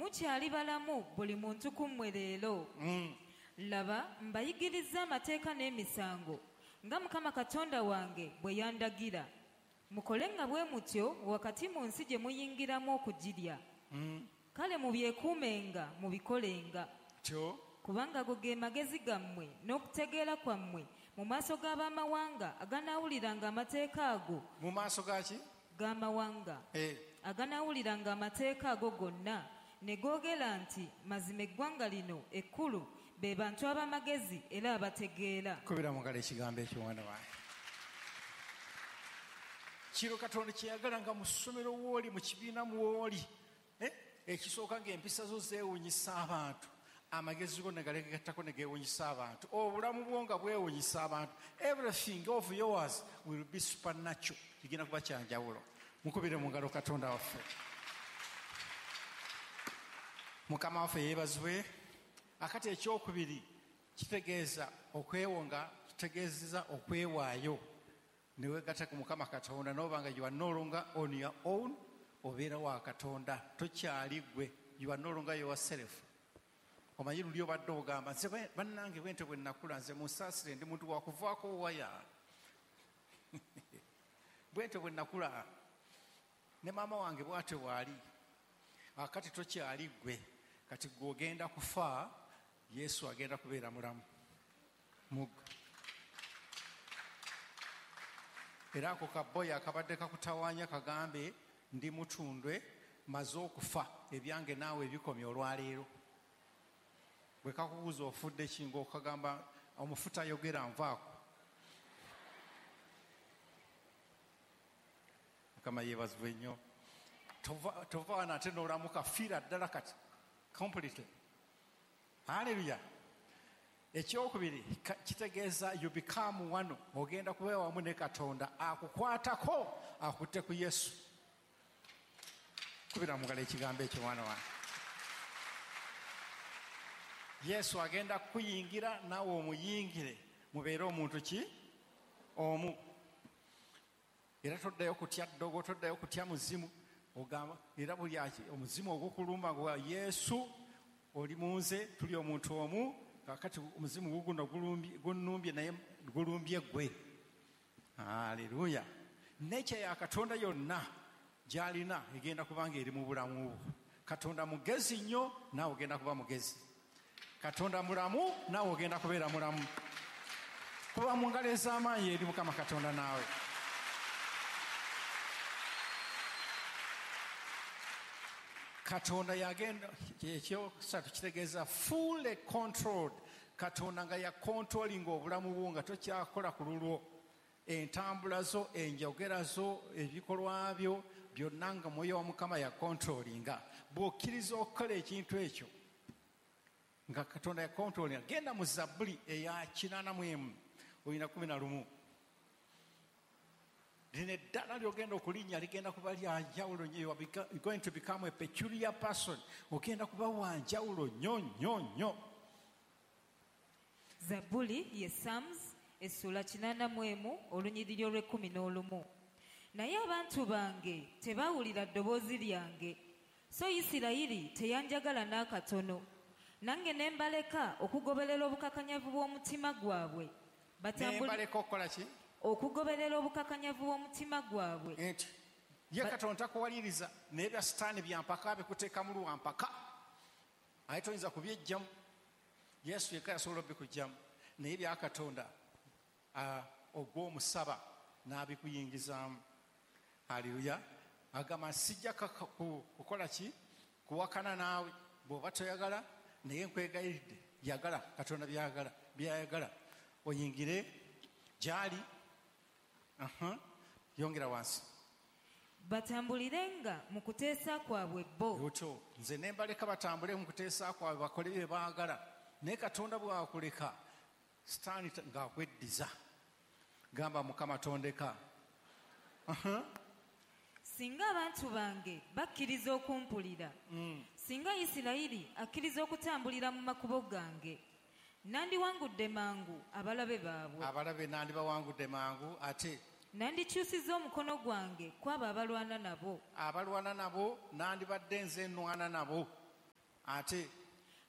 Mukyali balamu buli muntu ku mmwe leero. Laba, mbayigirizza amateeka n'emisango nga Mukama Katonda wange bwe yandagira. Mukole nga bwe mutyo wakati mu nsi gye muyingiramu okugirya. Kale mubyekuumenga, mubikolenga. Tyo. Kubanga ago ge magezi gammwe n'okutegeera kwammwe mu maaso g'abamawanga aganaawuliranga amateeka ago. Mu maaso gaki? G'amawanga. Aganaawuliranga amateeka ago gonna ne googera nti mazima eggwanga lino ekkulu be bantu ab'amagezi era abategeera. Kubira mu ngalo ekigambo ekyo mwana wange. Kiro Katonda kyeyagala nga mu ssomero w'oli, mu kibiina mw'oli, ekisooka ng'empisa zo zeewuunyisa abantu, amagezi go ne galegattako ne geewuunyisa abantu, obulamu bwo nga bwewuunyisa abantu. Everything of yours will be supernatural. Kigenda kuba kya njawulo. Mukubire mu ngalo Katonda waffe. Mukama waffe yeebazibwe. Akati ekyokubiri kitegeeza okwewonga, kitegeeza okwewaayo ne weegatta ku Mukama Katonda n'oba nga you are no longer on your own, obeera wa Katonda, tokyali ggwe, you are no longer yourself. Omanyi luli obadde ogamba nze bannange bwentyo bwe nakula, nze munsaasire ndi muntu wakuvaako waya. Bwentyo bwe nakula ne maama wange bw'atyo bw'ali. Akati tokyali ggwe, kati ggwe ogenda kufa, Yesu agenda kubeera mulamu mugwe. Era ako kaboyi akabadde kakutawaanya kagambe ndi mutundwe, maze okufa, ebyange naawe ebikomye olwaleero. Bwe kakubuuza ofudde ki ng'okagamba omufu tayogera nvaako. Mukama yeebazibwe nnyo. Tova wano ate n'olamuka, fiira ddala kati completely. Hallelujah. Ekyokubiri kitegeeza you become one, ogenda kubeera wamu ne Katonda akukwatako akutte ku Yesu. Kubira mu ngalo ekigambo ekyo mwana wange. Yesu agenda kukuyingira naawe omuyingire, mubeere omuntu ki? Omu. Era toddayo kutya ddogo, toddayo kutya muzimu. Ogamba era buli omuzimu ogukulumba gwa Yesu oli mu nze, tuli omuntu omu. Kaakati omuzimu guguno gunnumbye naye gulumbye ggwe. Haleluya. Nature ya Katonda yonna gy'alina egenda kubanga eri mu bulamu bwo. Katonda mugezi nnyo, naawe ogenda kuba mugezi. Katonda mulamu, naawe ogenda kubeera mulamu. Kuba mu ngalo ez'amaanyi eri Mukama Katonda naawe. Katonda yagenda, ekyokusatu kitegeeza fully controlled. Katonda nga ya controlling obulamu bwo nga tokyakola ku lulwo. Entambula zo, enjogera zo, ebikolwa byo byonna nga Mwoyo wa Mukama ya controllinga. Bw'okkiriza okukola ekintu ekyo nga Katonda ya controllinga, genda mu Zabbuli eya 81 olina 11. Lino eddala ly'ogenda okulinnya ligenda kuba lya njawulo nnyo. You are going to become a peculiar person. Ogenda kuba wa njawulo nnyo nnyo nnyo. Zabbuli ye Psalms essula 81 olunyiriri olw'e11. Naye abantu bange tebawulira ddoboozi lyange, so Isirayiri teyanjagala n'akatono. Nange ne mbaleka okugoberera obukakanyavu bw'omutima gwabwe. Ne mbaleka okukola ki? Okugoberera obukakanyavu bw'omutima gwabwe. Nti ye Katonda takuwaliriza, naye bya Sitaani bya mpaka bikuteekamu lwa mpaka, aye toyinza kubyejjamu. Yesu yekka yasobola obikuggyamu, naye bya Katonda ogw'omusaba n'abikuyingizaamu. Haleluya. Agamba sijja kukola ki? Kuwakana naawe bw'oba toyagala, naye nkwegayiridde yagala Katonda byayagala oyingire gy'ali. Yongera wansi. Batambulirenga mu kuteesa kwabwe bo. Otyo nze ne mbaleka batambule mu kuteesa kwabwe bakole bye baagala, naye Katonda bw'akuleka Sitaani ng'akweddiza. Gamba Mukama tondeka. Singa abantu bange bakkiriza okumpulira, singa Isirayiri akkiriza okutambulira mu makubo gange, nandiwangudde mangu abalabe baabwe. Abalabe nandibawangudde mangu, ate nandikyusizza omukono gwange ku abo abalwana nabo. Abalwana nabo nandibadde nze nnwana nabo. Ate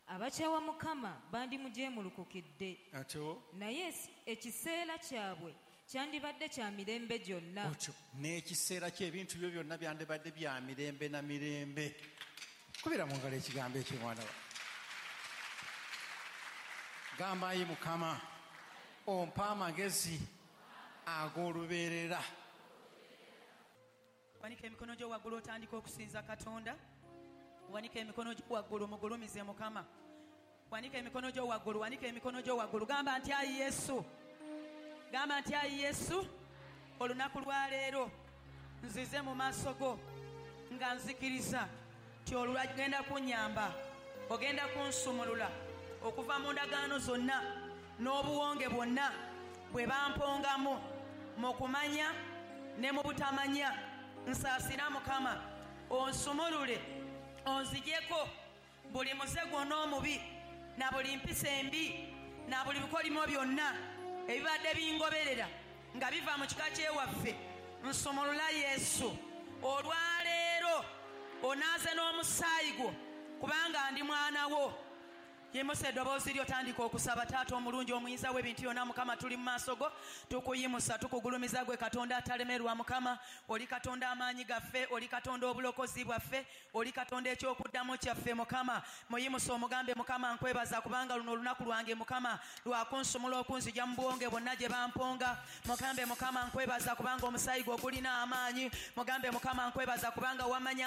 Abakyawa Mukama bandimujeemulukukidde, atyo naye ekiseera kyabwe kyandibadde kya mirembe gyonna. Otyo n'ekiseera ky'ebintu byo byonna byandibadde bya mirembe na mirembe. Kubira mu ngalo ekigambo ekyo, mwana wa. Gamba, ayi Mukama, ompa amagezi ag'olubeerera. Wanika emikono gyo waggulu otandika okusinza Katonda. Wanika emikono gyo waggulu mugulumize Mukama. Wanika emikono gyo waggulu, wanika emikono gyo waggulu. Gamba nti ayi Yesu. Gamba nti ayi Yesu, olunaku lwa leero nzize mu maaso go nga nzikiriza nti olugenda kunnyamba, ogenda kunsumulula okuva mu ndagaano zonna n'obuwonge bwonna bwe bampongamu mu kumanya ne mu butamanya. Nsaasira Mukama, onsumulule, onzigyeko buli muze gwonna omubi na buli mpisa embi na buli bikolimo byonna ebibadde bingoberera nga biva mu kika ky'ewaffe. Nsumulula Yesu, olwaleero onaaze n'omusaayi gwo kubanga ndi mwana wo. Yimusa eddoboozi lyo, tandika okusaba. Taata omulungi omuyinza w'ebintu byonna, Mukama, tuli mu maaso go, tukuyimusa, tukugulumiza gwe Katonda atalemerwa. Mukama, oli Katonda amaanyi gaffe, oli Katonda obulokozi bwaffe, oli Katonda ekyokuddamu kyaffe. Mukama, muyimusa omugambe, Mukama, nkwebaza kubanga luno olunaku lwange, Mukama, lwakunsumula okunzija mu buwonge bwonna gye bamponga. Mugambe, Mukama, nkwebaza kubanga omusaayi gwo gulina amaanyi. Mugambe, Mukama, nkwebaza kubanga wamanya.